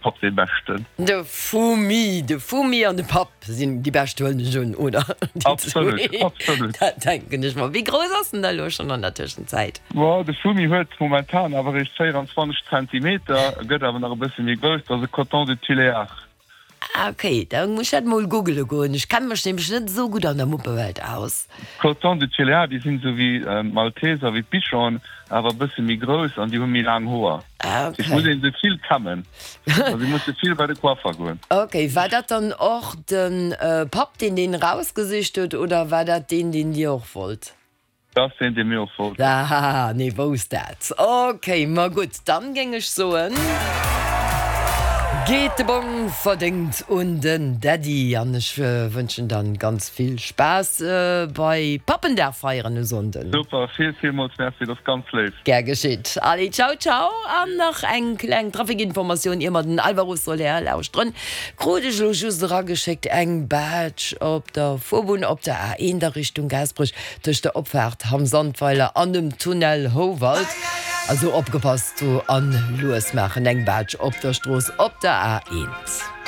Papp dee Beschten. De Fumi, de Fumi an de Papp sinn déi bescht, huelen ech un, oder? Absolut, absolut. Dat denken ech mer. Wéi grouss ass en da elo schonn an der Tëschenzäit? Bon, de Fumi huet momentan awer eréischt 24 Zentimeter, e gëtt awer nach e bësse méi grouss. Dat ass e Coton de Tuléar. Ah ok, da muss ech dat mol googele goen. Ech kenne mech nämlech net esou gutt an der Muppewelt aus. D'Coton de Tuléar, déi sinn esou wéi d'Malteser, wéi d'Bichon, awer e bësse méi grouss an déi hu méi laang Hoer. Ah ok. Et muss een se vill kämmen, also si musse vill bei de Coiffer goen. Ok, war dat dann och de Papp, deen deen erausgesicht huet, oder war dat deen, deen Dir och wollt? Dat ass deen, dee mir och wollten. Ahaha, nee, wousst dat. Ok, ma gutt, dann géing ech soen, geet de Bong verdéngt un den Daddy an ech wënschen dann ganz vill Spaass bei Pappendag feieren e Sonnden. Super, vill villmools Merci, dat ass ganz léif. Gär geschitt. Allez, ciao ciao an nach eng kleng Trafikinformatioun ier mer den Alvaro Soler lauschteren. Krut ech elo just erageschéckt, eng Baatsch op der Fuerbunn op der A1 a Richtung Gaasperech Tëscht der Opfaart Hamm Sandweiler an dem Tunnel Houwald. Also opgepasst do an lues maachen, eng Baatsch op der Strooss op der A1.